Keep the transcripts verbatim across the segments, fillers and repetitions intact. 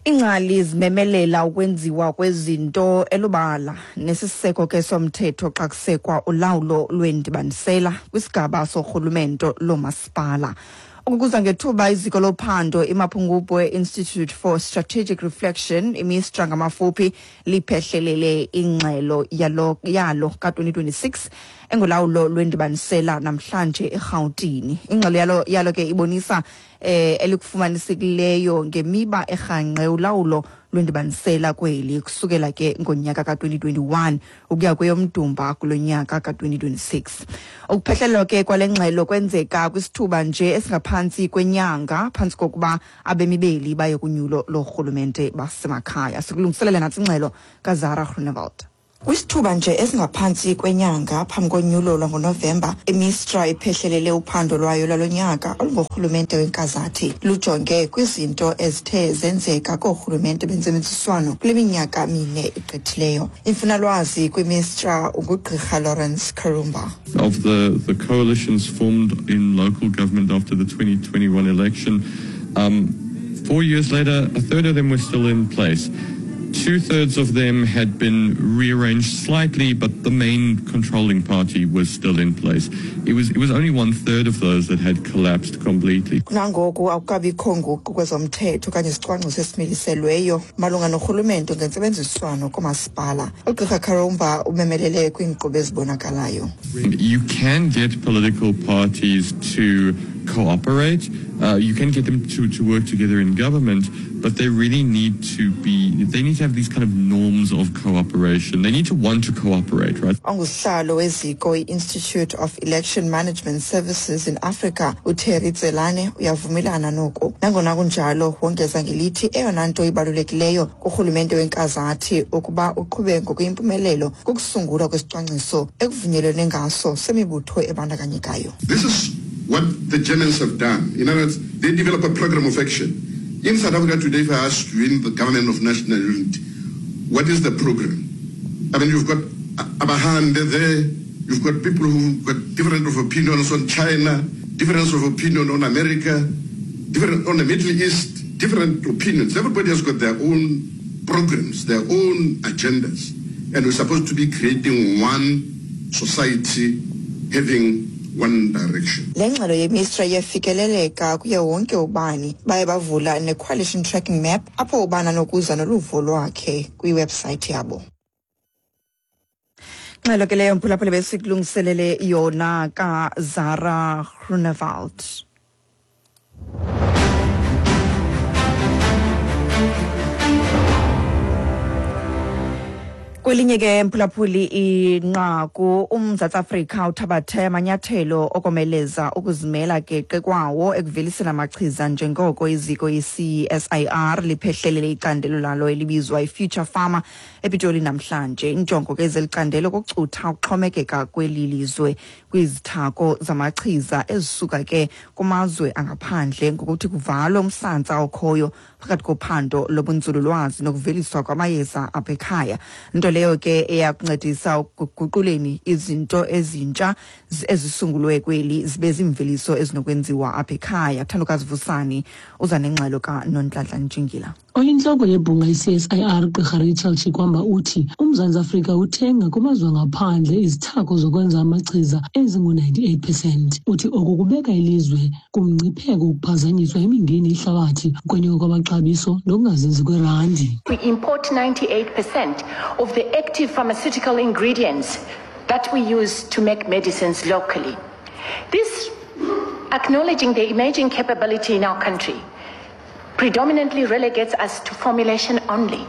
Ingcali zimemelela ukwenziwa kwezinto elubala nesiseko ke somthetho xa kusekwa ulawulo lwendibanisela kwisigaba sorhulumento lomasipala. Ukukuza ngethuba iziko lophando iMapungubwe Institute for Strategic Reflection, iMISTRA ngamafuphi, liphehlelele ingxelo yalo yalo ka-twenty twenty-six engolawulo lwendibanisela namhlanje eRhawutini. Ingxelo yalo yalo ke ibonisa eh elikufumanisekileyo ngemiba erhanqe ulawulo lwendibanisela kweli kusukela ke ngonyaka ka-twenty twenty-one ukuya kweyomdumba kulo nyaka ka-twenty twenty-six. Ukuphehlelelwa ke kwale ngxelo kwenzeka kwisithuba nje esingaphantsi kwenyanga phantsi kokuba abemi beli baye kunyulo lorhulumente basemakhaya. Sikulungiselela nantsi ingxelo kaZara Groenewald. Kwisithuba nje esingaphantsi kwenyanga phambi konyulo lwangoNovemba, iMISTRA iphehlelele uphando lwayo lwalo nyaka olungorhulumente wenkazathi. Lujonge kwizinto ezithe zenzeka koorhulumente bentsebenziswano kule minyaka mine igqithileyo. Imfunalwazi kwiMISTRA ungugqirha Lawrence Karumba. Of the, the coalitions formed in local government after the twenty twenty-one election, um, four years later, a third of them were still in place. Two-thirds of them had been rearranged slightly, but the main controlling party was still in place. It was, it was only one-third of those that had collapsed completely. Kunangoku akukabikho nguqu kwezomthetho okanye isicwangciso esimiliselweyo malunga norhulumento ngentsebenziswano koomasipala. Ugqirha Karumba umemelele kwiinkqubo ezibonakalayo. You can get political parties to cooperate. Uh, you can get them to, to work together in government, but they really need to be, they need to have these kind of norms of cooperation. They need to want to cooperate, right? Ongusihlalo weziko i-Institute of Election Management Services in Africa, uTerry Tselane, uyavumelana noku. Nangona kunjalo, wongeza ngelithi eyona nto ibalulekileyo kurhulumente wenkazathi ukuba uqhube ngokuyimpumelelo kukusungulwa kwesicwangciso ekuvunyelwene ngaso semibutho ebandakanyekayo. This is what the Germans have done. In other words, they develop a program of action. In South Africa today, if I ask you in the government of national unity, what is the program? I mean, you've got Abahande there, you've got people who've got different of opinions on China, difference of opinion on America, different on the Middle East, different opinions. Everybody has got their own programs, their own agendas. And we're supposed to be creating one society having one direction. Le ngxelo yeMISTRA iyafikeleleka kuye wonke ubani. Baye bavula ne-coalition tracking map apho ubani anokuza noluvo lwakhe kwiwebsite yabo. Ngxelo ke leyo mphulaphula besikulungiselele yona kaZara Groenewald. Kwelinye ke mphulaphuli inqaku, uMzantsi Afrika uthabathe amanyathelo okomeleza ukuzimela geqe kwawo ekuveliseni amachiza njengoko iziko i-C S I R liphehlelele icandelo lalo elibizwa i-Future Pharma ePitoli namhlanje. Injongo ke zelicandelo kukucutha ukuxhomekeka kweli lizwe kwizithako zamachiza ezisuka ke kumazwe angaphandle ngokuthi kuvalwe umsantsa okhoyo phakathi kophando lobunzululwazi nokuveliswa kwamayeza apha ekhaya. Nto leyo ke eyakuncedisa ukuguquleni izinto ezintsha ezisungulwe kweli zibe ziimveliso ezinokwenziwa apha ekhaya. Thandokazi Vusani uza nengxelo kaNonhlanhla Ntshingila. Oyintloko yebhunga i-C S I R Gqirha Rachel Chikwamba uthi uMzantsi Afrika uthenga kumazwe angaphandle izithako zokwenza amachiza ezingu-ninety-eight percent. Uthi oku kubeka ilizwe kumngcipheko wokuphazanyiswa imingeni yehlabathi, ukwenyuka kwamaxabiso nokungazinzi kwerandi. We import ninety-eight percent of the active pharmaceutical ingredients that we use to make medicines locally. This, acknowledging the emerging capability in our country, predominantly relegates us to formulation only,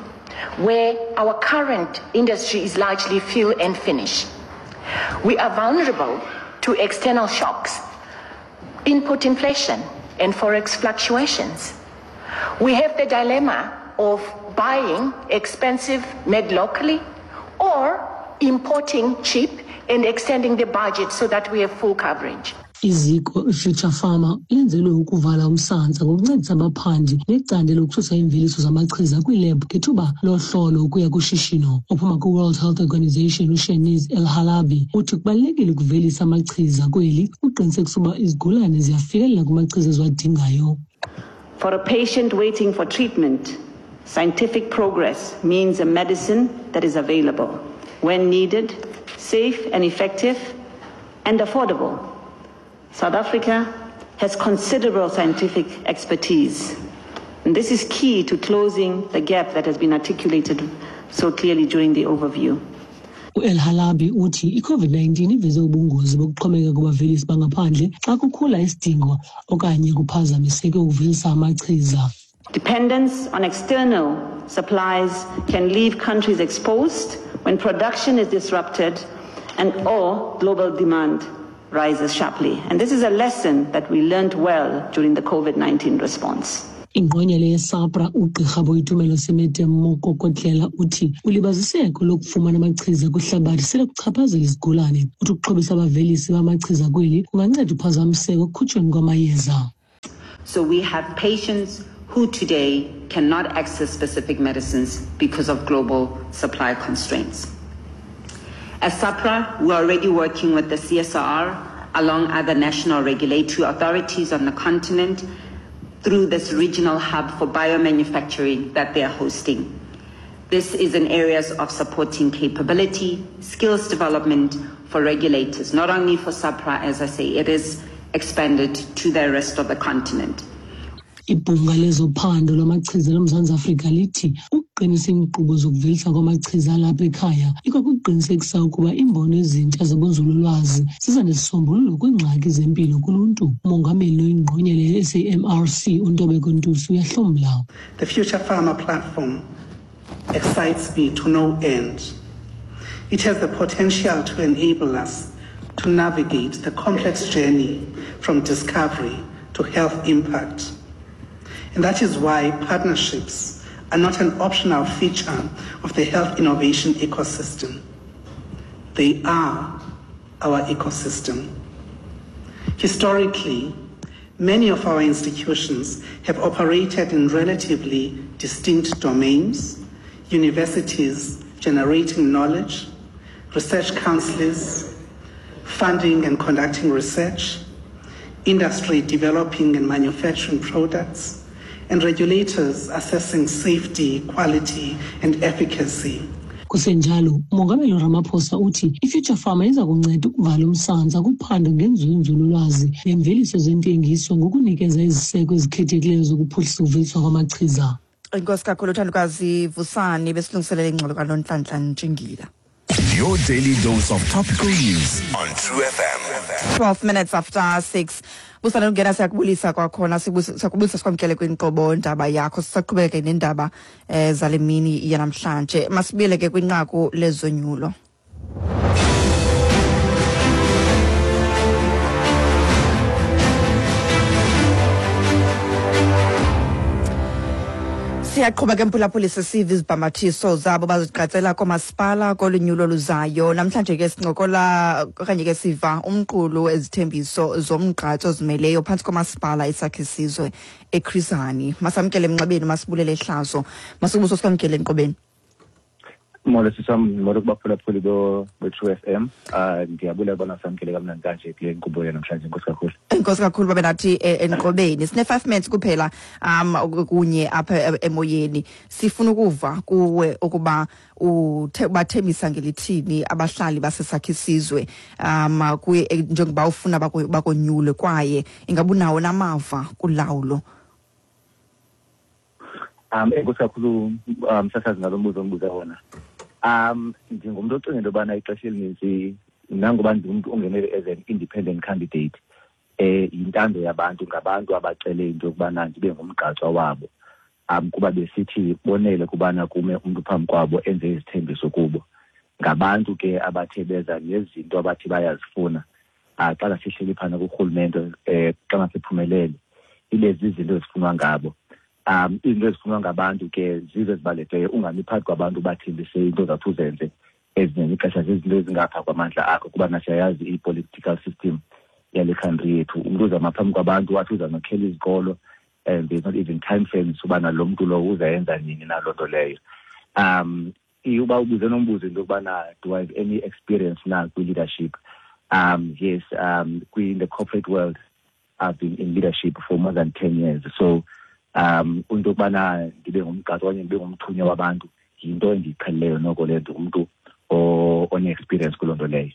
where our current industry is largely fill and finish. We are vulnerable to external shocks, input inflation, and forex fluctuations. We have the dilemma of buying expensive made locally or importing cheap and extending the budget so that we have full coverage. Iziko iFuture Pharma lenzelwe ukuvala umsantsa ngokuncedisa abaphandi necandelo lokususa iimveliso zamachiza kwiilebhu ngethuba lohlolo ukuya kushishino. Ophuma kwi-World Health Organization uSheniz El Halabi uthi kubalulekile ukuvelisa amachiza kweli ukuqinisekisa uba izigulane ziyafikelela kumachiza eziwadingayo. For a patient waiting for treatment, Scientific progress means a medicine that is available when needed, safe and effective, and affordable. South Africa has considerable scientific expertise, and this is key to closing the gap that has been articulated so clearly during the overview. U-El Halabi uthi i-COVID nineteen iveze ubungozi bokuxhomekeka kubavelisi bangaphandle xa kukhula isidingo okanye kuphazamiseke ukuvelisa amachiza. Dependence on external supplies can leave countries exposed when production is disrupted and or global demand rises sharply. And this is a lesson that we learned well during the COVID nineteen response. Ingqonyela yeSAHPRA ugqirha Boitumelo Semete Mokokotlela uthi ulibaziseko lokufumana amachiza kwihlabathi sele kuchaphazela izigulane. Uthi ukuxhobisa abavelisi bamachiza kweli kunganceda uphazamiseko ekukhutshweni kwamayeza. So we have patients who today cannot access specific medicines because of global supply constraints. As SAHPRA, we're already working with the C S R along other national regulatory authorities on the continent through this regional hub for biomanufacturing that they are hosting. This is in areas of supporting capability, skills development for regulators, not only for SAHPRA, as I say, it is expanded to the rest of the continent. Ibhunga lezophando lwamachiza loMzantsi Afrika lithi ukuqinisa iinkqubo zokuvelisa kwamachiza alapha ekhaya ikwakuqinisekisa ukuba iimbono ezintsha zobunzululwazi ziza nesisombululo kwiingxaki zempilo kuluntu. Umongameli oyingqonyela ye-S A M R C uNtobeko Ntusi uyahlomla. The Future Pharma platform excites me to no end. It has the potential to enable us to navigate the complex journey from discovery to health impact. And that is why partnerships are not an optional feature of the health innovation ecosystem. They are our ecosystem. Historically, many of our institutions have operated in relatively distinct domains, universities generating knowledge, research councils funding and conducting research, industry developing and manufacturing products, and regulators assessing safety, quality, and efficacy. Kusenjalo, uMongameli Ramaphosa uthi iFuture Pharma iza kunceda ukuvala umsantsa kuphando ngenzululwazi nemveliso zentengiso ngokunikeza iziseko ezikhethekileyo zokuphuhlisa ukuveliswa kwamachiza. Enkosi kakhulu Thandukazi Vusani besilungiselele ingxelo kaNonhlanhla Ntshingila. Your daily dose of topical news on True F M. twelve minutes after six. Busana ungena siyakubulisa kwakhona siyakubulisa sikwamkele kwinkqubo ndaba yakho sisaqhubeke nendaba eh, zale mini yanamhlanje. Masibuyele ke kwinqaku lezonyulo. Siyaqhuba ke mphulaphuli sisiva izibhambathiso zabo baziqatsela koomasipala kolunyulo luzayo. Namhlanje ke sincokola okanye ke siva umqulu wezithembiso zomgqatso ozimeleyo phantsi komasipala iSakhisizwe eChris Hani. Masamkele emnxebeni, masibulele ehlazo. Masibuso sikwamkele enqobeni. Molo sisam, molo kubaphulaphuli bo-True F M. Uh, ndiyabulela bona samkele kamnandi kanje kule nkqubo yanamhlanje. Enkosi kakhulu. Enkosi kakhulu babe nathi enqobeni. Sine five minutes kuphela um kunye apha emoyeni. Sifuna ukuva kuwe ukuba ubathembisa ngelithini abahlali baseSakhisizwe um kuye njengoba ufuna bakonyule kwaye ingabunawo namava kulawulo. Um enkosi kakhulu msasazi ngalo mbuzo ongibuza wona. Um ndingumntu ocinga into yobana ixesha elinintsi nangoba ndingumntu ongenele as an independent candidate, eh yintando yabantu, ngabantu abacele into yokubana ndibe ngumgqatswa wabo. Um kuba besithi bonele kubana kume umntu phambi kwabo enze izithembiso kubo. Ngabantu ke abathe beza nezinto abathi bayazifuna. Ah xa sihleli phana kurhulumente eh xa siphumelele ibe zizinto ezifunwa ngabo. Um izinto ezifunwa ngabantu ke zizo ezibalulekileyo. Ungami phakathi kwabantu bathembise into zathi uzenze ezinye ixesha zizinto ezingapha kwamandla akho, kuba nasiyayazi i-political system yale country yethu. Umntu uzama phambi kwabantu wathi uzamakhela izikolo and there's not even time frames ubana lo mntu lo uzayenza nini na loo nto leyo. Um uba ubuze nombuzo into yokubana do I have any experience na kwi-leadership? Um yes, um in the corporate world I've been in leadership for more than ten years. So Um into yokubana ndibe ngumgqatswa okanye ndibe ngumthunywa wabantu yinto endiyiqhelileyo noko leyo, ndingumntu one-experience kuloo nto leyo.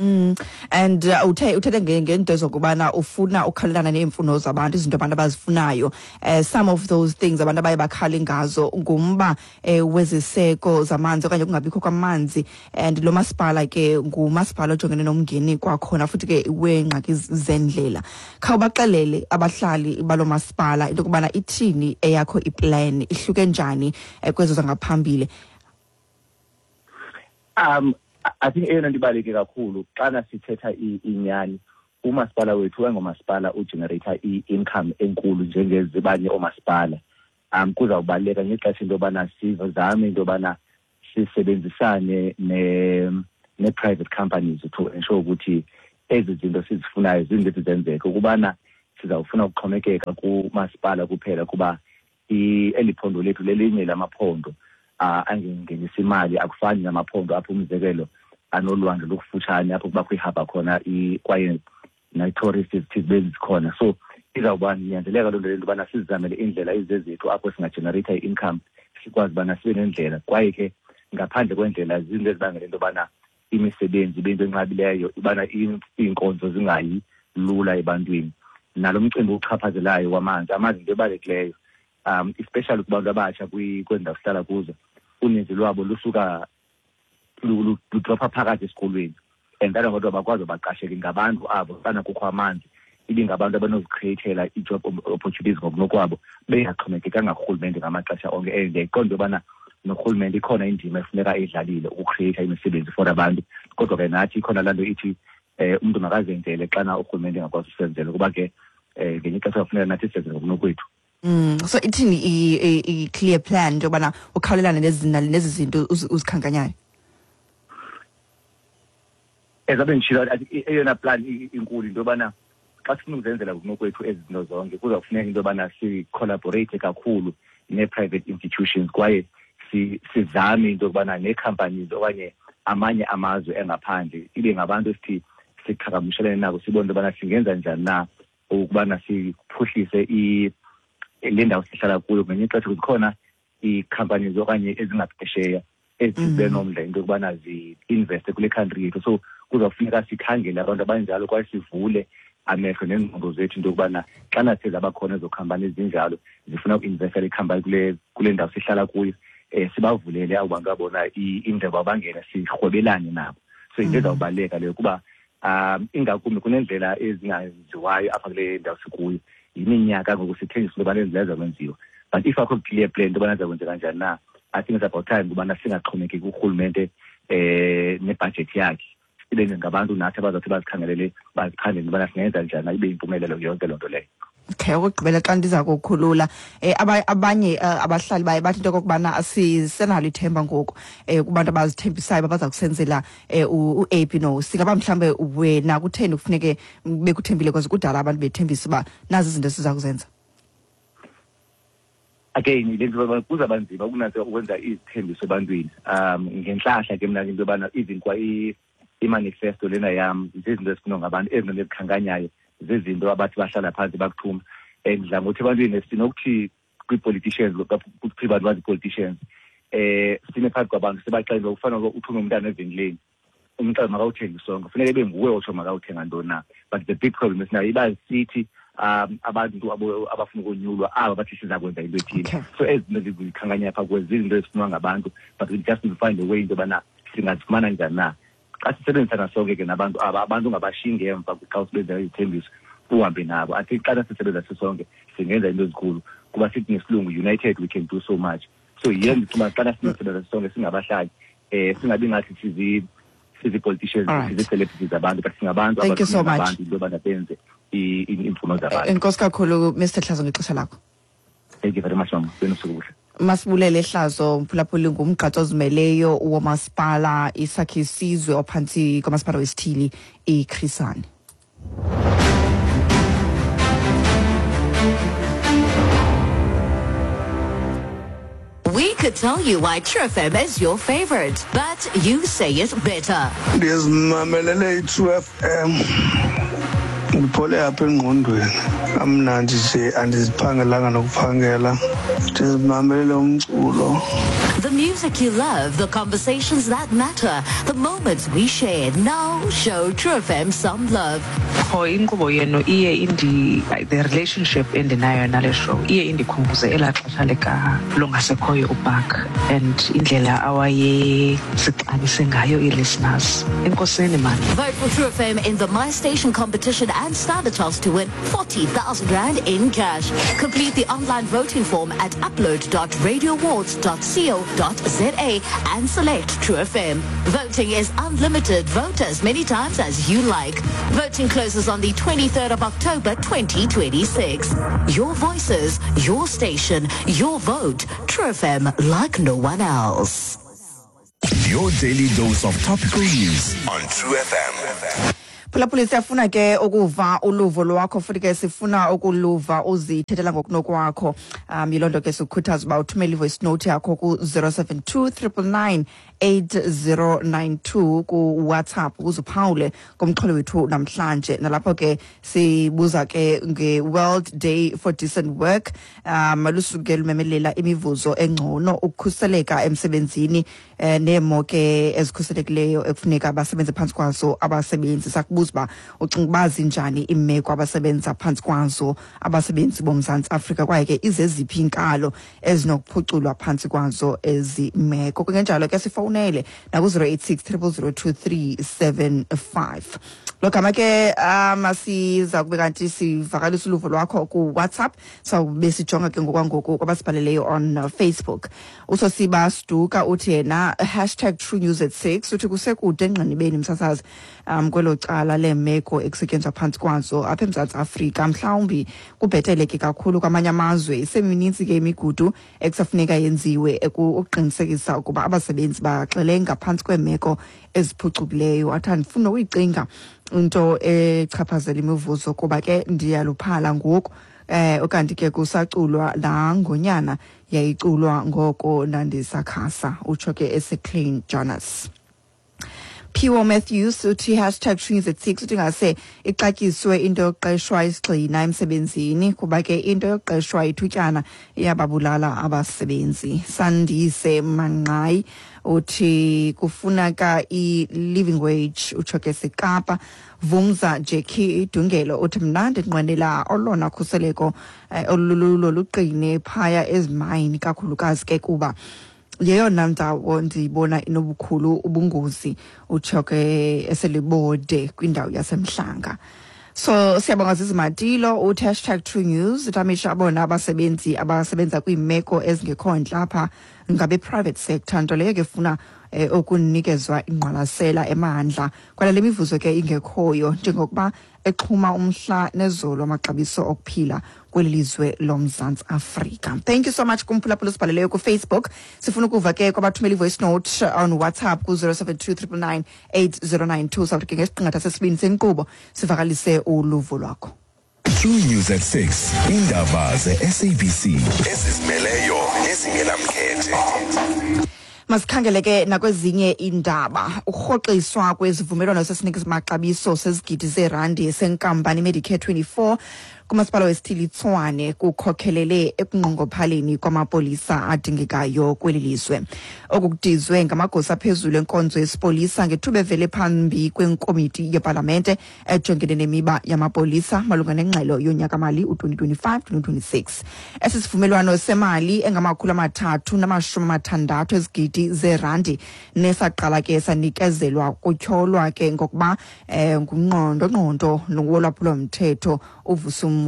Mm. And uh, uthe uthethe ngento zokubana ufuna ukukhalelana neemfuno zabantu, izinto abantu abazifunayo. Uh, some of those things abantu abaye bakhale ngazo ngumba uh, weziseko zamanzi okanye kungabikho kwamanzi, and lo masipala ke ngumasipala ojongene nomngeni kwakhona futhi ke weengxaki zendlela. Khawubaxelele abahlali balo masipala into yokubana ithini eyakho iplan, ihluke njani uh, kwezo zangaphambili. Um I think eyona nto ibaluleke kakhulu xana sithetha inyani, umasipala wethu engomasipala ugenerate i-income enkulu njengezibanye oomasipala. Um kuzawubaluleka ngexesha into yobana sizame into yobana sisebenzisane ne-private companies to ensure ukuthi ezi zinto sizifunayo zinto zenzeke, ukubana sizawufuna ukuxhomekeka kumasipala kuphela kuba eli phondo lethu lelinye lamaphondo uh, angengenisa imali. Akufani namaphondo apho umzekelo anolwandle lokufutshane apho kubakho ihaba khona kwaye nee-tourists zithi zibe zikhona. So izawuba nyanzeleka loo nto le yobana sizamele iindlela ezizezethu apho singagenereyitha i-income, sikwazi ubana sibe nendlela. Kwaye ke ngaphandle kwendlela zizinto ezibangela into yobana imisebenzi ibe yinto enqabileyo, ubana iinkonzo zingayi lula ebantwini. Nalo mcimbi uchaphazelayo wamanzi, amanzi yinto ebalulekileyo, um especially kubantu abatsha kwezi ndawo sihlala kuzo. Uninzi lwabo lusuka ludropha phakathi esikolweni, and that kodwa bakwazi baqasheke ngabantu abo xana kukho amanzi, ibingabantu abanozikhrieyithela i-job opportunities ngokunokwabo bengaxhomekekanga kurhulumente ngamaxesha onke. And ndiyayiqonda yobana norhulumente ikhona indima efuneka eyidlalile ukukhrieyitha imisebenzi for abantu, kodwa ke nathi ikhona laa nto ithi um umntu makazenzele xana urhulumente engakwazi usenzela, kuba ke um ngenye ixesha kufuneka nathi sizenze ngokunokwethu. Mm, so ithini i-clear plan into yobana ukhawulelane nezi zinto uzikhankanyayo? Ezabe nditshilo, eyona plan inkulu into yobana xa sifuna ukuzenzela ngokunokwethu ezi zinto zonke kuzawufuneka into yobana sicollaborate kakhulu nee-private institutions, kwaye sizame into yokubana nee-companies okanye amanye amazwe engaphandle ibe ngabantu esithi siqhagamshelane nabo, sibone into yobana singenza njani na ukubana siphuhlise le ndawo sihlala kuyo. Ngenye ixesha zikhona ii-companies okanye ezingaphesheya ezithi zibe nomdla into yokubana zi-investe kule country yethu. So kuzawufuneka sikhangele abantu abanjalo kwaye sivule amehlo neengqondo zethu into yokubana xana seze abakhona ezo khampani ezinjalo zifuna ukuinvesta le khampani kule kule ndawo sihlala kuyo, um sibavulele abo bantu abona indlela bangene sirhwebelane nabo. So yinto ezawubaluleka leyo kuba um ingakumbi kuneendlela ezingaziwayo apha kule ndawo sikuyo. Yiminyaka ngoku sithengisa into yobana ezi zakwenziwa, but if akho clear plan into yobana zakwenzeka njani na, I think it's about time ukubana singaxhomekeki kurhulumente um nebhajethi yakhe, sibe ngabantu nathi abazawuthi bazikhangelele baziphandele into yobana singenza njani ibe yimpumelelo yonke loo nto leyo. Okay, okokugqibela xa ndiza kukhulula, eh abanye abahlali baye bathi into okokubana asisenalo ithemba ngoku eh kubantu abazithembisayo abaza kusenzela u-A P no singaba mhlambe wena kutheni kufuneke bekuthembile because kudala abantu bethembisa uba nazi izinto esiza kuzenza? Again, le nto kuzawuba nzima ukunantsika ukwenza izithembiso ebantwini. Um ngentlahla ke mna into yobana even kwa i-manifesto lena yam zizinto ezifunwa ngabantu, ezi zinto ezikhankanyayo zizinto abathi bahlala phantsi bakuthuma. And ndidla ngokuthi ebantwini sinokuthi kwii-politicians, kuthi abantu bazi-politicians, eh sime phakathi kwabantu sibaxelele ukufana uthume umntana evenkileni, umxelele makawuthenge isonka, funeka ibe nguwe otsho makawuthenga ntoni na. But the big problem esinayo iba sithi um abantu abafuna ukonyulwa aba bathi siza kwenza into ethile. So ezi zinto ndizikhankanya phaa kuwe zizinto ezifunwa ngabantu, but we just need to find a way into yobana singazifumana njani na. Xa sisebenzisana sonke ke nabantu aba, abantu ungabashiyi ngemva xa usebenzela izithembiso, uhambe nabo. I think xa sisebenza sisonke singenza into ezinkulu, kuba sithi ngesilungu united we can do so much. So yiyo ndicinga xa sinosebenza sisonke singabahlali, um singabi ngathi sizi sizi-politicians, sizi-celebrities abantu, but singabantu abantu into yobana benze iimfuno zabantu. Enkosi kakhulu Mister Hlazo ngexesha lakho. Thank you very much, mama. Benosuku obuhle. Masibulele Hlazo mphulaphuli, ngumgqatso ozimeleyo womasipala iSakhe Sizwe ophantsi kwamasipala wesithili iChris Hani. We could tell you why True F M is your favorite, but you say it better. Ndizimamelele i-True F M. Ndiphole apha engqondweni. Amnandi nje andiziphangelanga nokuphangela. Ndizimamelele umculo. The music you love, the conversations that matter, the moments we share. Now show True F M some love. Qho inkqubo yenu iye indi the relationship endinayo nale show iye indikhumbuze elaa xesha lika longasekhoyo uBark and indlela awayesixabise ngayo ii-listeners. Enkosini man. Vote for True F M in the My Station competition and stand a chance to win forty thousand rand in cash. Complete the online voting form at upload dot radio awards dot co dot za and select True F M. Voting is unlimited. Vote as many times as you like. Voting closes on the twenty-third of October twenty twenty-six. Your voices, your station, your vote. True F M, like no one else. Your daily dose of topical news on True F M. Phulaphula, siyafuna ke ukuva uluvo lwakho futhi ke sifuna ukuluva uzithethela ngokunokwakho. Um yiloo nto ke sikukhuthaza uba uthumele i-voice note yakho ku-zero seven two triple nine eight zero nine two ku-WhatsApp ukuze uphawule kumxholo wethu namhlanje. Nalapho ke sibuza ke nge-World Day for Decent Work. Um lusuke lumemelela imivuzo engcono, ukukhuseleka emsebenzini eh, neemo ke ezikhuselekileyo ekufuneka basebenze phantsi kwazo abasebenzi. Sakubuza uba ucinga uba zinjani iimeko abasebenza phantsi kwazo abasebenzi boMzantsi Afrika, kwaye ke izeziphi iinkalo ezinokuphuculwa phantsi kwazo ezi meko. Kungenjalo ke sifowunele naku-zero eight six triple zero two three seven five. Lo gama ke um siza kube kanti sivakalisa uluvo lwakho ku-WhatsApp, sawube sijonga ke ngokwangoku kwabasibhaleleyo on Facebook. Usosiba Siduka uthi yena hashtag True News at six, uthi kusekude engqinibeni msasazi um kwelo cala leemeko ekusetyenzwa phantsi kwazo apha eMzantsi Afrika. Mhlawumbi kubheteleke kakhulu kwamanye amazwe. Iseminintsi ke imigudu ekusafuneka yenziwe ukuqinisekisa ukuba abasebenzi baxelenga phantsi kweemeko eziphucukileyo. Athi andifuna ukuyicinga into echaphazela imivuzo kuba ke ndiyaluphala ngoku, eh ukanti ke kusaculwa laa ngonyana yayiculwa ngoko ndandisakhasa, utsho ke eseClean Jonas. Phiwo Matthews uthi hashtag True News at six, uthi ngase ixatyiswe into yokuqeshwa isigxina emsebenzini kuba ke into yokuqeshwa ithutyana iyababulala abasebenzi. Sandise Manqayi uthi kufuneka i-living wage, utsho ke seKapa. Vumza Jackie Dungelo uthi mna ndinqwenela olona khuseleko olululo luqine phaya ezimayini, kakhulukazi ke kuba yeyona ndawo ndiyibona inobukhulu ubungozi, utsho ke eselibode kwindawo yaseMhlanga. So siyabonga Zizi Matilo uthi hashtag True News, uthi abona abasebenzi abasebenza kwiimeko ezingekho ntle apha ngabe private sector, nto leyo ke funa eh, ukunikezwa ingqwalasela emandla kwala le mivuzo ke ingekhoyo njengokuba exhuma umhla nezolo amaxabiso okuphila kweli lizwe loMzantsi Afrika. Thank you so much kumphulaphula usibhaleleyo ku-Facebook. Sifuna ukuva ke kwabathumela i-voice note on WhatsApp ku-zero seven two triple nine eight zero nine two. Sawuthi ke ngesiqingatha sesibini senkqubo sivakalise uluvo lwakho. True News at six, indaba ze-S A B C ezizimeleyo nezingenamkhethe. Masikhangele ke nakwezinye iindaba. Ukurhoxiswa kwezivumelwano sesinikamaxabiso sezigidi zeerandi senkampani Medicare twenty-four kumasipala wesithili Tshwane kukhokhelele ekunqongophaleni kwamapolisa adingekayo kweli lizwe. Oku kudizwe ngamagosa aphezulu enkonzo yesipolisa ngethuba evele phambi kwenkomiti yepalamente ejongene nemiba yamapolisa malunga nengxelo yonyaka-mali u-twenty twenty-five twenty twenty-six. Esi sivumelwano semali engamakhulu amathathu namashumi amathandathu ezigidi zeerandi nesaqala ke sanikezelwa kutyholwa ke ngokuba eh, ngungqondo-ngqondo wolwaphulo-mthetho uVusumuzi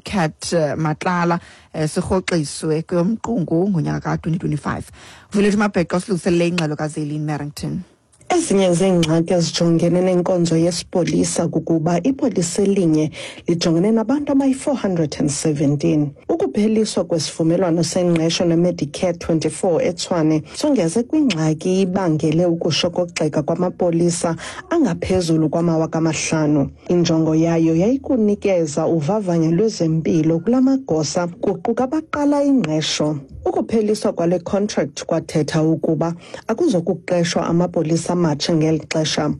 Cat Matlala eh, sirhoxiswe kweyomqungu ngonyaka ka-twenty twenty-five. Vulethu Mabheqo silungiselele ingxelo kaZelin Merrington. Ezinye zeengxaki ezijongene nenkonzo yesipolisa kukuba ipolisa elinye lijongene nabantu abayi-four hundred and seventeen. Ukupheliswa kwesivumelwano sengqesho neMedicare twenty-four eTshwane songeze kwingxaki ibangele ukushokoxeka kwamapolisa angaphezulu kwamawaka amahlanu. Injongo yayo yayikunikeza uvavanyo lwezempilo kula magosa kuquka abaqala ingqesho. Ukupheliswa kwale contract kwathetha ukuba akuzokuqeshwa amapolisa amatsha ngeli xesha.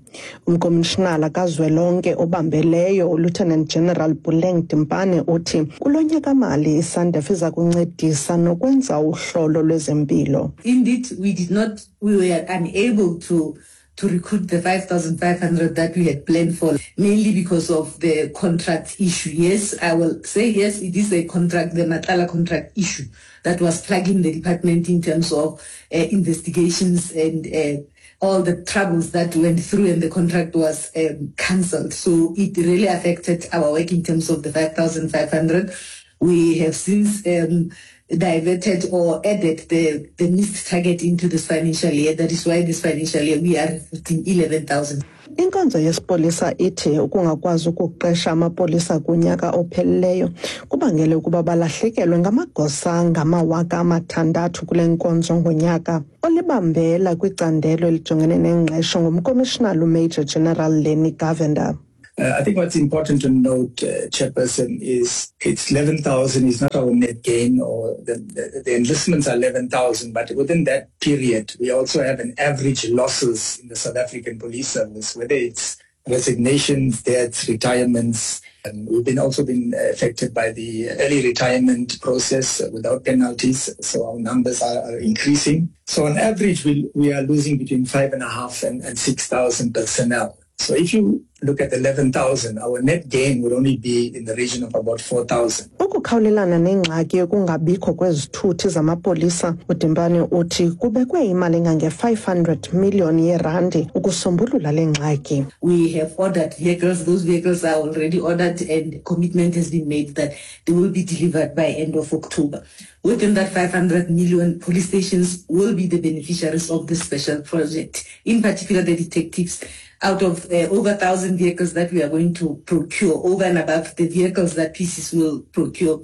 Umkomishinala kazwelonke obambeleyo uLieutenant General Puleng Dimpane uthi kulo nyaka-mali iSANDF iza kuncedisa nokwenza uhlolo lwezempilo. Indeed, we did not, we were unable to to recruit the five thousand five hundred that we had planned for, mainly because of the contract issue. Yes, I will say yes, it is a contract, the Matlala contract issue that was plaguing the department in terms of uh, investigations and uh, all the troubles that went through, and the contract was um, cancelled. So it really affected our work in terms of the five thousand five hundred. We have since um, diverted or added the, the missed target into this financial year. That is why this financial year we are recruiting eleven thousand. Inkonzo yesipolisa ithi ukungakwazi ukuqesha amapolisa kunyaka opheleleyo kubangele ukuba balahlekelwe ngamagosa ngamawaka amathandathu kule nkonzo ngonyaka. Olibambela kwicandelo elijongene nengqesho ngumkomishinala uMajor General Lenny Govender. Uh, I think what's important to note, uh, Chairperson, is it's eleven thousand is not our net gain, or the, the, the enlistments are eleven thousand, but within that period, we also have an average losses in the South African Police Service, whether it's resignations, deaths, retirements. And we've been also been affected by the early retirement process without penalties, so our numbers are, are increasing. So on average, we, we are losing between five and a half and, and six thousand personnel. So if you look at eleven thousand, our net gain would only be in the region of about four thousand. Ukukhawulelana nengxaki yokungabikho kwezithuthi zamapolisa, uDimpane uthi kubekwe imali engange-five hundred million yerandi ukusombulula le ngxaki. We have ordered vehicles. Those vehicles are already ordered and commitment has been made that they will be delivered by end of October. Within that five hundred million, police stations will be the beneficiaries of this special project, in particular the detectives. Out of uh, over one thousand vehicles that we are going to procure, over and above the vehicles that P Cs will procure,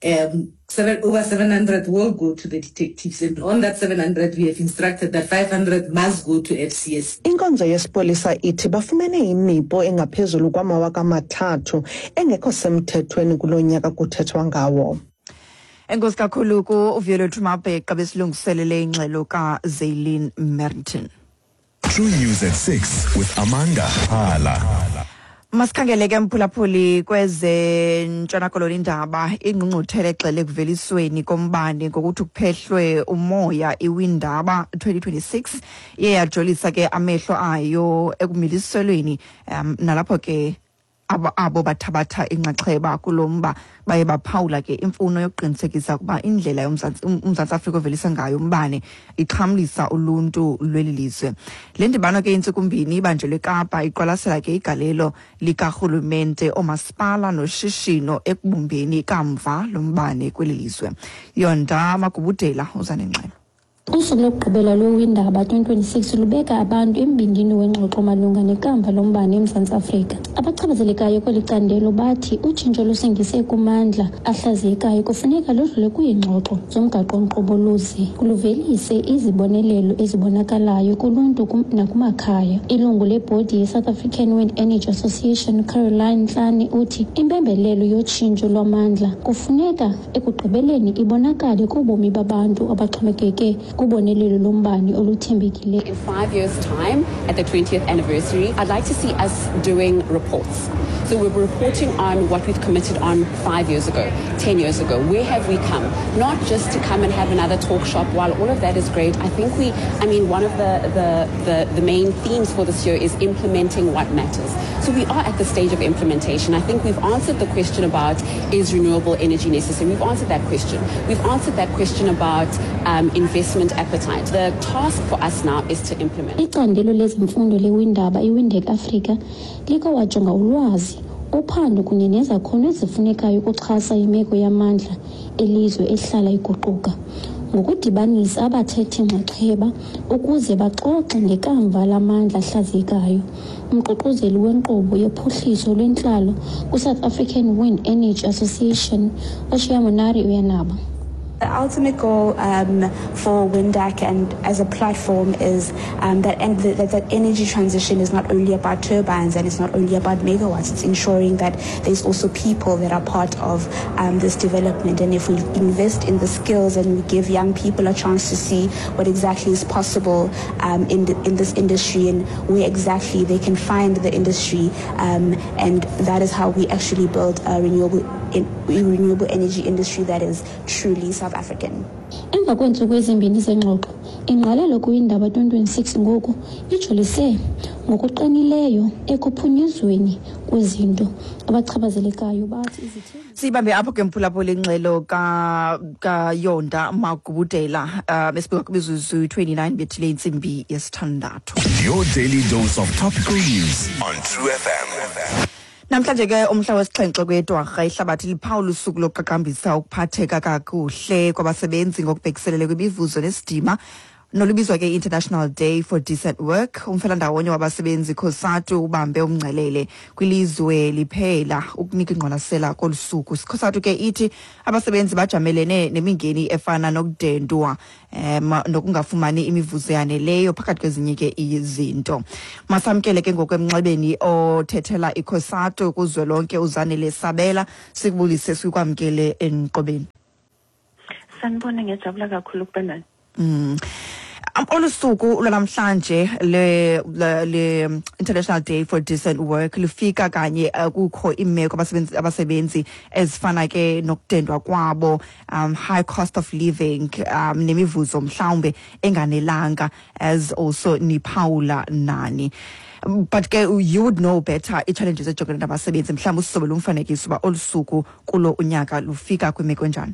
um, seven, over seven hundred will go to the detectives. And on that seven hundred, we have instructed that five hundred must go to F C S. Inkonzo yesipolisa ithi bafumene imipo engaphezulu kwamawaka amathathu engekho semthethweni kulo nyaka kuthethwa ngawo. Enkosi kakhulu ku Vuyolwethu Mabheqa besilungiselele ingxelo kaZaylin Merrington. True News at six with Amanda Hala. Masikhangele ke mphulaphuli kweze Ntshona Koloni indaba ingqungquthela egxele ekuvelisweni kombane ngokuthi kuphehlwe umoya iWindaba twenty twenty-six iye yajolisa ke amehlo ayo ekumiliselweni um, nalapho ke abo abo bathabatha inxaxheba kulomba baye baphawula ke imfuno yokuqinisekisa ukuba indlela yomzantsi uMzantsi Afrika ovelisa ngayo umbane ixhamlisa uluntu lweli lizwe. Le ndibano ke intsukumbini ibanjelwe eKapa iqwalasela ke igalelo likarhulumente, oomasipala noshishino ekubumbeni ikamva lombane kweli lizwe. Yonda Magubudela uza nengxelo. Usuku lokugqibela lweWindaba twenty twenty-six lubeka abantu embindini wengxoxo malunga nekamva lombane eMzantsi Afrika. Abachaphazelekayo kweli candelo bathi utshintsho lusingise kumandla ahlaziyekayo kufuneka ludlule kwiingxoxo zomgaqo-nkqubo luze luvelise izibonelelo ezibonakalayo kuluntu nakumakhaya. Ilungu lebhodi ye-South African Wind Energy Association Caroline Ntlane uthi impembelelo yotshintsho lwamandla kufuneka ekugqibeleni ibonakale kubomi babantu abaxhomekeke kubonelelo lombane oluthembekileyo. In five years' time, at the twentieth anniversary, I'd like to see us doing reports. So we're reporting on what we've committed on five years ago, ten years ago. Where have we come? Not just to come and have another talk shop. While all of that is great, I think we, I mean, one of the, the, the, the main themes for this year is implementing what matters. So we are at the stage of implementation. I think we've answered the question about is renewable energy necessary? We've answered that question. We've answered that question about um, investment appetite. The task for us now is to implement. Icandelo lezemfundo leWindaba iWindek Africa likowajonga ulwazi, uphando kunye nezakhono ezifunekayo ukuxhasa imeko yamandla elizwe ehlala iguquka ngokudibanisa abathethi nxaxheba ukuze baxoxe ngekamva lamandla ahlaziyekayo. Umququzeli wenkqubo yophuhliso lwentlalo kwiSouth African Wind Energy Association uShiya Monari uyanaba. The ultimate goal um, for Windaq and as a platform is um, that, and the, that that energy transition is not only about turbines and it's not only about megawatts. It's ensuring that there's also people that are part of um, this development. And if we invest in the skills and we give young people a chance to see what exactly is possible um, in, the, in this industry and where exactly they can find the industry, um, and that is how we actually build a renewable, in, renewable energy industry that is truly South African. Emva kweentsuku ezimbini zengxoxo, ingqalelo kwiNdaba twenty twenty-six ngoku ijolise ngokuqinileyo ekuphunyezweni kwezinto. Abachaphazelekayo bathi izithembiso. Sibambe apho ke mphulaphula ingxelo ka kaYonda Magubudela, um esibika kwimizuzu twenty-nine bethile intsimbi yesithandathu. Your daily dose of topical news on True F M. Namhlanje ke umhla wesixhenxe kweDwarha ihlabathi liphawula usuku lokuqaqambisa ukuphatheka kakuhle kwabasebenzi ngokubhekiselele kwimivuzo nesidima nolubizwa ke International Day for Decent Work. Umfelandawonye wabasebenzi COSATU ubambe umngcelele kwilizwe liphela ukunika ingqwalasela kolu suku. COSATU ke ithi abasebenzi bajamelene nemingeni efana nokudendwa um nokungafumani imivuzo yaneleyo phakathi kwezinye ke izinto. Masamkele ke ngokwemnxebeni othethela iCOSATU kuzwelonke uZanele Sabela, sikubulise sikwamkele enqobeni. Sanibona, ngiyajabula kakhulu ukuba nani. Mm. Olu suku lwanamhlanje le, le, le International Day for Decent Work lufika kanye kukho imeko abasebenzi abasebenzi ezifana ke nokudendwa kwabo, um high cost of living, um nemivuzo mhlawumbe enganelanga, as also niphawula nani. But ke you would know better i-challenges ejongene nabasebenzi, mhlawumbe usisobele umfanekiso uba olu suku kulo unyaka lufika kwimeko enjani?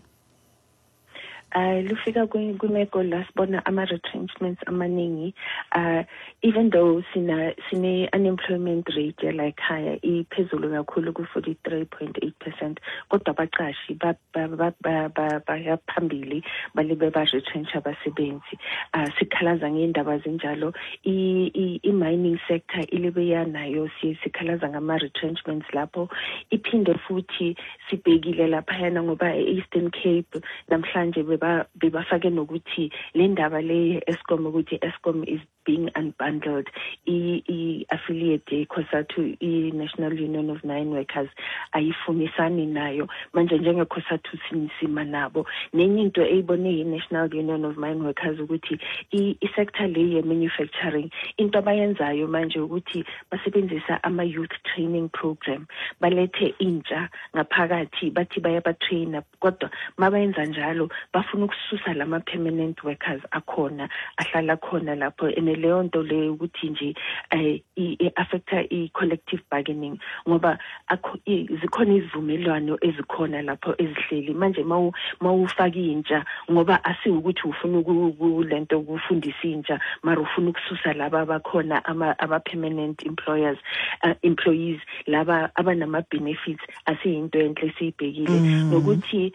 Uh, lufika kwimeko la sibona ama-retrenchments amaningi, uh, even though sina sine unemployment rate yala ekhaya iphezulu kakhulu ku forty-three point eight percent, kodwa abaqashi baya phambili balibe ba-retrench abasebenzi. Uh, sikhalaza ngendaba zinjalo. I-mining sector ilibe yanayo, sikhalaza ngama-retrenchments lapho. Iphinde futhi sibhekile laphayana ngoba e-Eastern Cape namhlanje bebafake nokuthi le ndaba le Eskom, ukuthi Eskom is being unbundled. I-affiliate COSATU, i-National Union of Mine Workers, ayifunisani nayo manje njenge-COSATU sinisima nabo. Nenye into eyibone i-National Union of Mine Workers ukuthi i-sector le ye-manufacturing, into abayenzayo manje ukuthi basebenzisa ama-youth training program, balethe intsha ngaphakathi, bathi bayabatraina, kodwa mabayenza njalo bafuna ukususa lama permanent workers akhona ahlala khona lapho. Ene leyo nto leyo ukuthi nje i-affecta i-collective bargaining, ngoba zikhona izivumelwano ezikhona lapho ezihleli manje. Mawufaka intsha, ngoba asiwukuthi ufuna kulento ukufundisa intsha, mara ufuna ukususa laba abakhona ama-permanent employers, uh, employees laba abanama benefits, asiyinto enhle siyibhekile. Nokuthi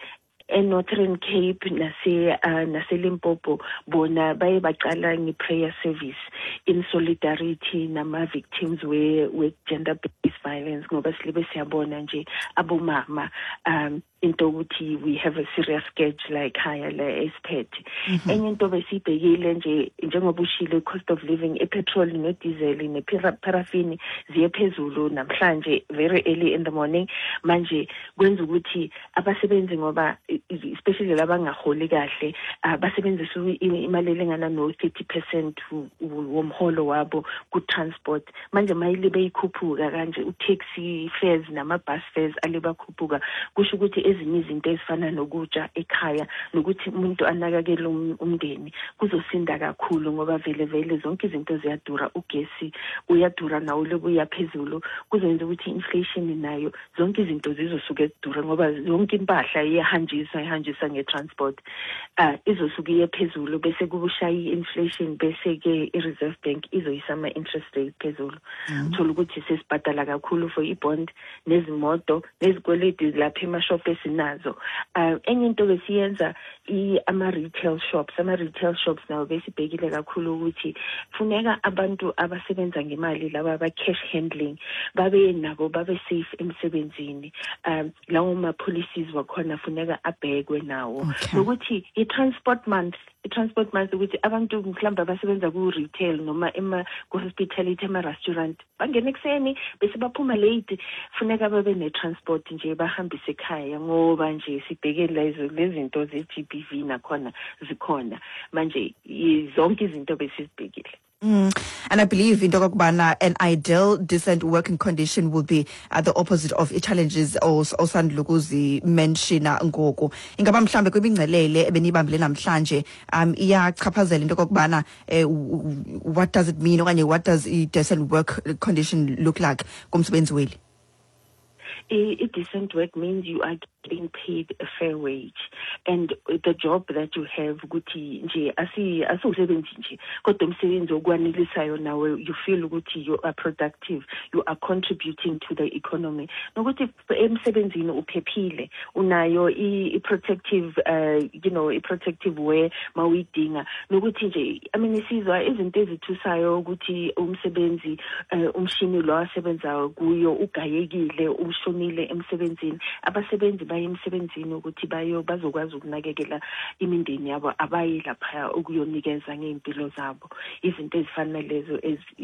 eNorthern Cape nase uh, nase Limpopo bona baye baqala nge-prayer service in solidarity nama victims we we gender based violence, ngoba silibe siyabona nje abomama um into ukuthi we have a serious scourge la ekhaya la esiphethe. Enye into besibhekile nje, njengoba ushilo, cost of living, i-petrol no-diesel ne-paraffin ziye phezulu namhlanje very early in the morning. Manje kwenza ukuthi abasebenzi, ngoba especially labangaholi kahle, basebenzisa imali elingana no thirty percent womholo wabo ku-transport. Manje mayilibe ikhuphuka kanje, u-taxi fares nama-bus fares alibakhuphuka, kusho ukuthi ezinye izinto ezifana nokutsha ekhaya nokuthi umuntu anakekele umndeni kuzosinda kakhulu, ngoba vele vele zonke izinto ziyadura, ugesi uyadura nawo lokuya phezulu, kuzoyenza ukuthi inflation nayo zonke izinto zizosuke zidure, ngoba yonke impahla iyahanjiswa ihanjiswa nge-transport, uh, izosuke iye phezulu, bese kubushaya i-inflation, bese ke i-Reserve Bank izoyisa ama-interest rate phezulu. Uthola ukuthi sesibhadala kakhulu for i-bond nezimoto nezikweleti lapha emashop esinazo. Um enye into besiyenza ama-retail shops, ama-retail shops nawo besibhekile kakhulu ukuthi funeka abantu abasebenza ngemali laba aba-cash handling babe nabo babe safe emsebenzini. Um lawo ma-policies wakhona funeka abhekwe nawo. Nokuthi i-transport month, i-transport month ukuthi abantu mhlawumbe abasebenza ku-retail noma ema ku-hospitality, ema-restaurant bangena ekuseni bese baphuma late, funeka babe ne-transport nje bahambise ekhaya, ngoba nje sibheke lezo lezinto ze-G B V nakhona zikhona manje, zonke izinto besizibhekile. Mm. And I believe in Tokokbana, an ideal, decent working condition will be uh, the opposite of challenges osandlukuzi mention ngoku. Ingaba mhlambe kwimingcelele ebenibambile namhlanje um iyachaphazela into kokubana, what does it mean okanye what does a decent work condition look like kumsebenzi weli? A, a decent work means you are getting paid a fair wage, and the job that you have ukuthi nje asi asiwusebenzi nje kodwa umsebenzi okwanelisayo nawe, you feel ukuthi you are productive, you are contributing to the economy, nokuthi emsebenzini uphephile, unayo i-protective uh, you know i-protective wear mawuyidinga, nokuthi nje I mean isizwa izinto ezithusayo ukuthi umsebenzi uh, umshini lo asebenza kuyo ugayekile, ushonile emsebenzini. Abasebenzi baye emsebenzini ukuthi bayo bazokwazi ukunakekela imindeni yabo, abayi lapha ukuyonikeza ngeimpilo zabo. Izinto ezifana lezo,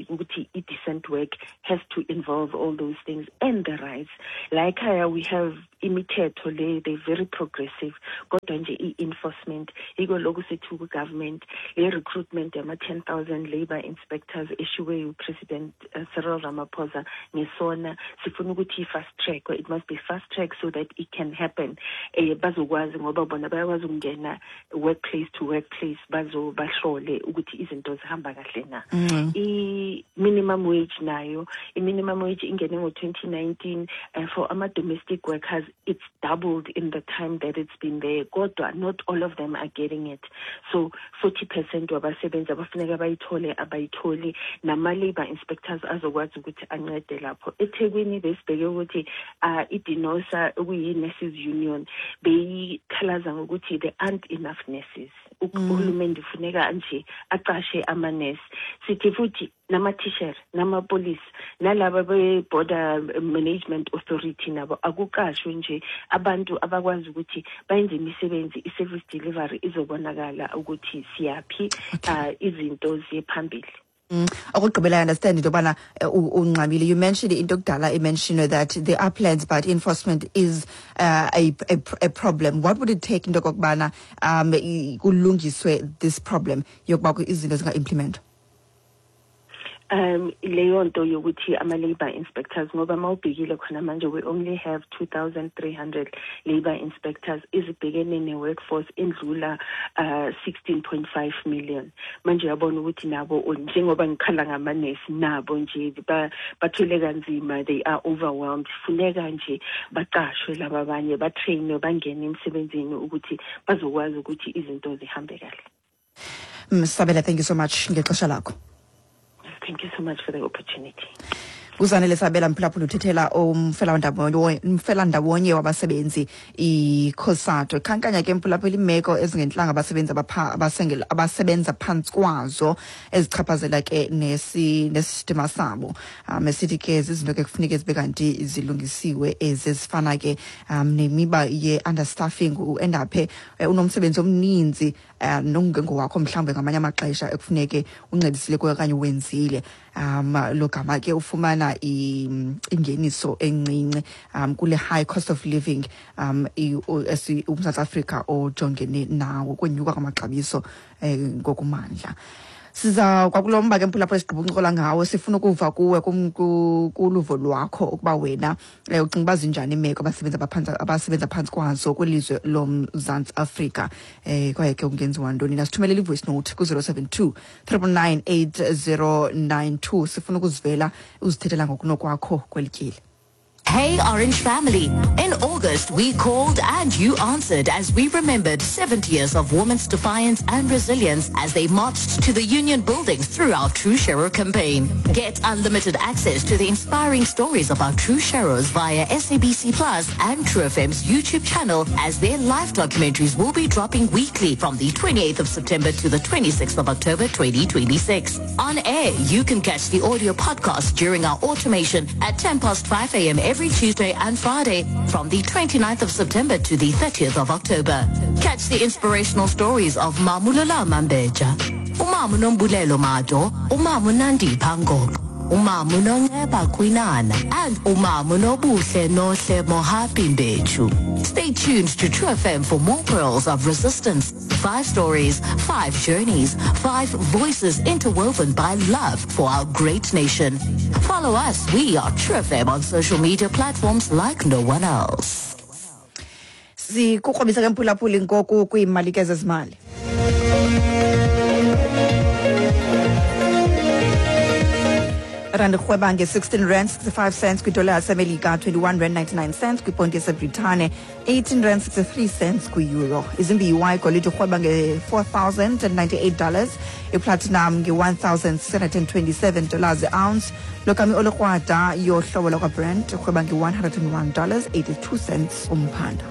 ukuthi i-decent work has to involve all those things and the rights. Like here we have imithetho le, they very progressive, kodwa nje i-enforcement iko lokhu sethu ku-government le recruitment yama ten thousand labor inspectors eshiwe uPresident uh, Cyril Ramaphosa ngesona sifuna ukuthi i-fast track, it must be fast track so that it can happen. Eh bazokwazi ngoba bona bayakwazi ukungena workplace to workplace bazobahlole ukuthi izinto zihamba kahle na. Mm. I minimum wage nayo, i minimum wage ingene ngo twenty nineteen uh, for ama domestic workers it's doubled in the time that it's been there, kodwa not all of them are getting it. So forty percent wabasebenzi abafuneka bayithole abayitholi, nama labor inspectors azokwazi ukuthi ancede lapho. eThekwini besibheke ukuthi uh, iDINOSA okuyi nurses union beyikhalaza ngokuthi there aren't enough nurses. Uhulumende ufuneka nje aqashe ama-nurse. Sithi futhi nama-teacher, nama-police, nalaba be-border management authority nabo akuqashwe nje abantu abakwazi ukuthi bayenze imisebenzi, i-service delivery izobonakala ukuthi siyaphi, uh, izinto ziye phambili. Mm. Okugqibela, I understand into yobana ungxamile. You mentioned into kudala mentioned that there are plans but enforcement is uh, a, a a problem. What would it take into okokubana um kulungiswe this problem yokuba izinto zinga-implement? Um leyo nto yokuthi ama-labor inspectors, ngoba mawubhekile khona manje we only have two thousand three hundred labor inspectors ezibhekene ne-workforce endlula uh, sixteen point five million. Manje uyabona ukuthi nabo njengoba ngikhala ngamanesi nabo nje bathwele kanzima, they are overwhelmed. Funeka nje baqashwe laba abanye batrainwe bangene emsebenzini ukuthi bazokwazi ukuthi izinto zihambe kahle. Sabela, thank you so much ngexesha lakho. Thank you so much for the opportunity. Uzanele Sabela mphulaphula uthethela umfelandawonye wabasebenzi iCOSATU. Khankanya ke mphulaphula imeko ezingentlanga abasebenzi abasebenza phantsi kwazo ezichaphazela ke nesi nesistima sabo. Um esithi ke zizinto ke kufuneka zibe kanti zilungisiwe ezi ezifana ke um nemiba ye-understaffing, uendaphe unomsebenzi omninzi uh, nongengowakho mhlawumbe ngamanye amaxesha ekufuneke uncedisile kuyo okanye wenzile. Um lo gama ke ufumana ingeniso encinci um kule high cost of living um uMzantsi Afrika ojongene nawo kwenyuka kwamaxabiso eh, ngokumandla. Siza kwakulomba ke mphulaphula esigqiba uncokola ngawo, sifuna ukuva kuwe kuluvo lwakho ukuba wena ucinga uba zinjani imeko abasebenza abaphantsi abasebenza phantsi kwazo kwilizwe loMzantsi Afrika, eh kwaye ke kungenziwa ntoni. Nasithumelela i-voice note ku zero seven two, triple nine, eight zero nine two. Sifuna ukuzivela uzithethela ngokunokwakho kweli tyeli. Hey Orange Family. In August, we called and you answered as we remembered seventy years of women's defiance and resilience as they marched to the union buildings through our True Sharer campaign. Get unlimited access to the inspiring stories of our True Sharers via S A B C Plus and True F M's YouTube channel, as their live documentaries will be dropping weekly from the twenty-eighth of September to the twenty-sixth of October twenty twenty-six. On air, you can catch the audio podcast during our automation at ten past five a.m. every Tuesday and Friday from the twenty-ninth of September to the thirtieth of October. Catch the inspirational stories of Mamulola Mambeja, Umamu Nombulelo Mado, Umamu Nandi Pangok, Umamu Nongeba Kwinana, and Umamu Nobuhle Nohle Mohapi Mbechu. Stay tuned to True F M for more pearls of resistance. Five stories, five journeys, five voices interwoven by love for our great nation. Follow us. We are True F M on social media platforms like no one else. Sikukrobisa ke mphulaphuli ngoku kwiimali ke zezimali. Rand rhweba nge-sixteen rand sixty-five cents kwidola yasemelika, twenty-one rand ninety-nine cents kwiponti yaseBritane, eighteen rand sixty-three cents kwi-euro. Izimbiwa igolide irhweba nge-four thousand and ninety-eight dollars, iplatinum nge-one thousand six hundred and twenty-seven dollars ounce. Lokami olukrwada yohlobo lwakwaBrent irhweba nge-one hundred and one dollars eighty-two cents umphanda.